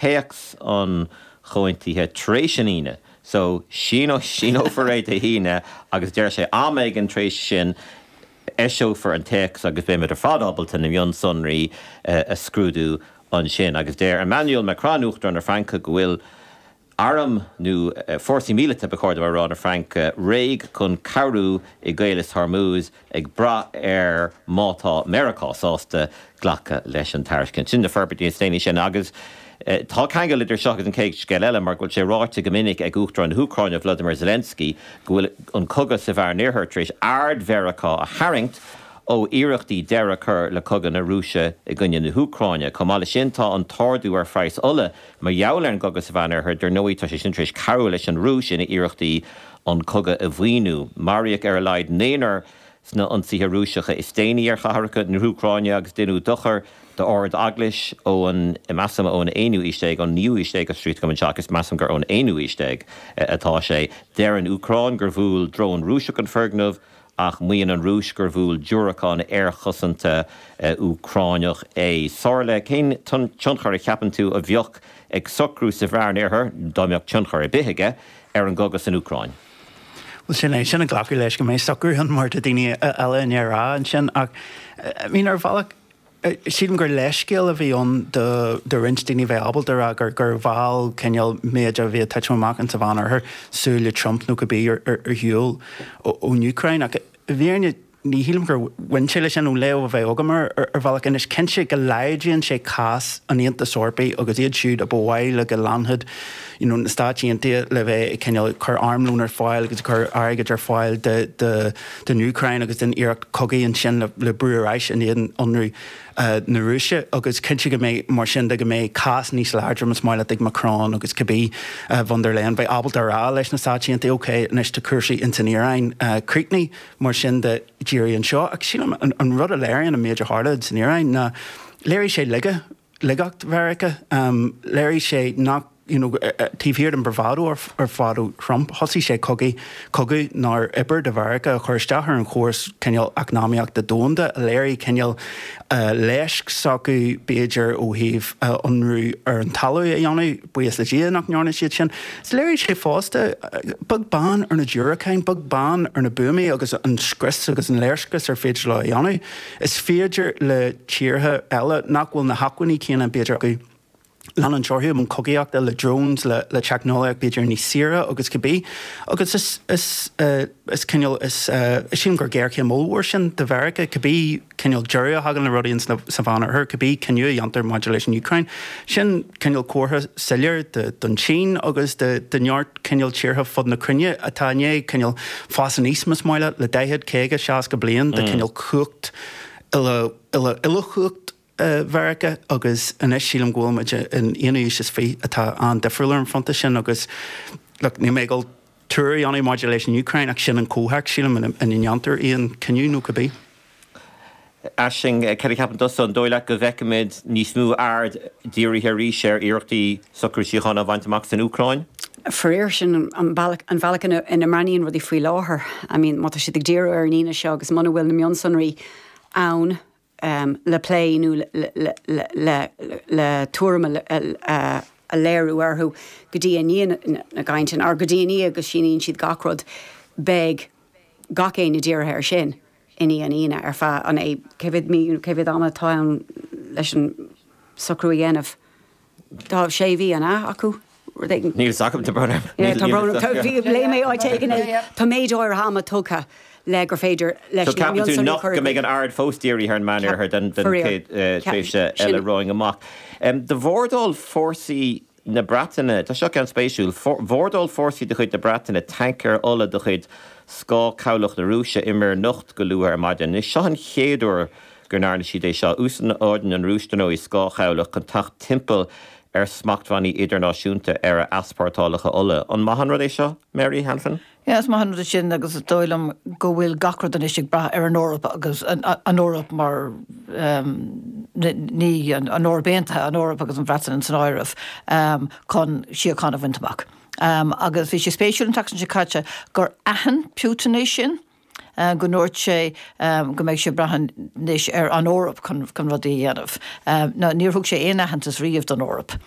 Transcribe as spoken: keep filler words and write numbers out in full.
Téacs an chomhaontaithe tar éis an Aoine. So síneofar é Dé hAoine agus deir sé am éigin tar éis sin eiseofar an téacs agus beimid ar fad ábalta na mionsonraí a scrúdú ansin. Agus deir Emmanuel Macron, Uachtarán na Fraince, go bhfuil arm nó fórsaí míleata, ba chóir dom a rá, na Fraince réidh chun cabhrú i gCaolas Hormuz, ag brath ar má tá Meiriceá sásta glacadh leis an tairiscint. Sin na forbairtí is déanaí sin agus tá ceangal idir seo agus an chéad scéal eile mar go bhfuil sé ráite go minic ag Uachtarán na hÚcráine Vladimir Zelensky go bhfuil an cogadh sa Mheánoirthear tar éis aird Mheiriceá a tharraingt ó iarrachtaí deireadh a chur le cogadh na Rúise i gcoinne na hÚcráine. Chomh maith leis sin tá an t-ardú ar phraghas ola mar gheall ar an gcogadh sa Mheánoirthear, dar ndóigh tá sé sin tar éis cabhrú leis an Rúis ina iarrachtaí an cogadh a mhaoiniú. Maraíodh ar a laghad naonúr sna hionsaithe Rúiseacha is déanaí ar chathracha na hÚcráine agus deineadh dochar d'Ard-Eaglais ón, measaim, ón aonú haois déag, ón naoú haois déag, scríte agam anseo agus measaim gur ón aonú haois déag atá sé. Deir an Úcráin gur bhuail drón Rúiseach an foirgneamh ach maíonn an Rúis gur bhuail diúracán aerchosanta Úcránach é. Somhairle, cén tionchar a cheapann tú a bheadh ag socrú sa Mheánoirthear, dá mbeadh tionchar ar bith aige, ar an gcogadh san Úcráin? Bhuel sin é, sin ag glacadh leis go mbeidh socrú ann mar tá daoine eile i ndiaidh a rá ansin ach I mean ar bhealach sílim gur leithscéal a bhí ann do do roinnt daoine bheith ábalta a rá gur gur mheall cineál méid a bhí ag titim amach insa Mheánoirthear súile Trump nó cibé ar ar shiúl ón Úcráin ach i bhfírinne ní shílim gur bhain sé leis sin ón léamh a bheith agam air ar bhealach. Anois cinnte go laghdaíonn sé cás an Aontais Eorpaigh agus iad siúd a ba mhaith leo go leanfadh you know na Stáit Aontaithe le bheith ag cineál cur armlón ar fáil agus ag cur airgid ar fáil do do don Úcráin agus don iarracht cogaidh ansin le le brú ar ais in éadan ionradh na Rúise agus cinnte go mbeidh mar sin de go mbeidh cás níos láidre más maith leat ag Macron agus cibé von der Leyen bheith ábalta a rá leis na Stáit Aontaithe ok anois tá cúrsaí ins an Iaráin críochnaithe mar sin de dírigh anseo ach sílim an rud a léiríonn an méid a tharla ins an Iaráin ná léirigh sé laige laigeacht Mheiriceá léirigh sé nach you know taobh thiar den bravado ar fad ó Trump thosaigh sé cogaí cogadh nár oibir do Mheiriceá a chur isteach ar an chóras cineál eacnamaíochta domhanda a léirigh cineál leisc s'acu b'fhéidir ó thaobh ionradh ar an talamh a dhéanamh, buíochas le Dia nach ndearna siad sin. Is léirigh sé fosta, beag beann ar na diúracáin, beag beann ar na buamaí agus an scrios agus an léirscrios ar féidir leo a dhéanamh, is féidir le tíortha eile nach bhfuil na hacmhainní céanna b'fhéidir acu, leanúint orthu i mbun cogaíochta le drones, le le teicneolaíocht b'fhéidir níos saoire agus cibé. Agus is is is cineál is sílim gur géarchéim ollmhór sin do Mheiriceá, cibé cineál deireadh a thagann le rudaí ins sa Mheánoirthear, cibé cinneadh a dhéantar maidir leis an Úcráin. Sin cineál comhartha soiléir do don tSín agus do do neart cineál tíortha fud na cruinne atá i ndiaidh cineál fás aníos más maith leat le daichead, caoga, seasca bliain de cineál cumhacht uile uile uilechumhacht Mheiriceá agus anois sílim go bhfuil muid in aonú haois is fiche atá an-difriúil ar an fronta sin agus look níl mé ag dul tuar a dhéanamh maidir leis an Úcráin ach sin an comhthéacs sílim ina ndéantar aon cinneadh nó cibé. Aisling, cad a cheapann tusa, an dóigh leat go bhfeicfimid níos mó aird dírithe arís ar iarrachtaí socrú síochána a bhaint amach san Úcráin? Faraor, sin an bealach an bhealach ina ina mbreathnaíonn rudaí faoi láthair. I mean, má tá siad ag díriú ar an Aoine seo agus muna bhfuil na mionsonraí ann, le plé nó le tuairim a léiriú orthu go dtí i ndiaidh na gcainteanna, or go dtí i ndiaidh go síníonn siad gach rud, beidh gach éinne dírithe air sin i ndiaidh an Aoine ar feadh an cé mhéad mí, cé mhéad ama atá ann leis an socrú a dhéanamh? Tá sé mhí, an ea, acu? Rud éigin. Níl fhios agam, tá brón orm. Yeah, tá brón orm. Bhí, léigh mé áit éigin é. Tá méid áirithe ama tugtha le gur féidir leis So na ceapann tú mionsonraí a nach chur go mbeidh an aird fós dírithe ar an Meánoirthear den den Faraor. chéad Ceap, tréimhse sin. eile romhainn amach. Do bhordáil fórsaí na Breataine, tá seo ceann spéisiúil, bhordáil fórsaí de chuid na Breataine tancaer ola de chuid scáthchabhlach na Rúise i Muir Niocht go luath ar maidin. Anois seo an chéad uair go ndearna siad é seo. Úsáideann an Rúis, dar ndóigh, scáthchabhlach chun teacht timpeall ar smachtbhannaí idirnáisiúnta ar a easpórtálacha ola. An maith an rud é seo, Mary Hanafin? Yeah, is maith an rud é sin agus is dóigh liom go bhfuil gach rud anois ag brath ar an Eoraip agus an Eoraip mar ní an Eoraip Aontaithe, an Eoraip agus an Bhreatain san áireamh chun síocháin a bhaint amach. Agus bhí sé spéisiúil an tseachtain seo caite gur aithin Putin é sin. go ndúirt sé go mbeidh sé ag brath anois ar an Eoraip chun chun rudaí a dhéanamh. Now níor thug sé aon aitheantas riamh don Eoraip.